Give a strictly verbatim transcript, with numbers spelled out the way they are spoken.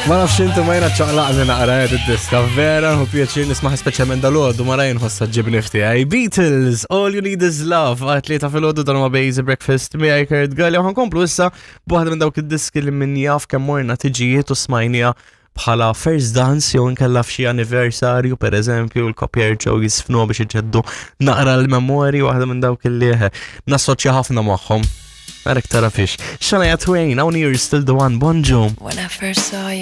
Ma nafx intu ma jiena ċaqlaqni naqra għed id-diska, vera nħu pjaċir nismaħ speċjalment dal-għodu ma rajn ħossa ġibni fti. Beatles, All You Need Is Love, għat-tlieta filgħodu dan huwa Basic Breakfast miegħi Kurt Galli u ħa nkomplu issa b'waħda minn dawk id-diski li min jaf kemm morna tiġijiet u smajnija bħala first dance jew inkella f'xi anniversarju per eżempju l-koppja jerġgħu jisfnu biex iġeddu naqra l-memorji waħda minn dawk li nassoċja ħafna magħhom. Għarek tara fiex. Shania Twain, hawn You're Still the One, bonġu. When I first saw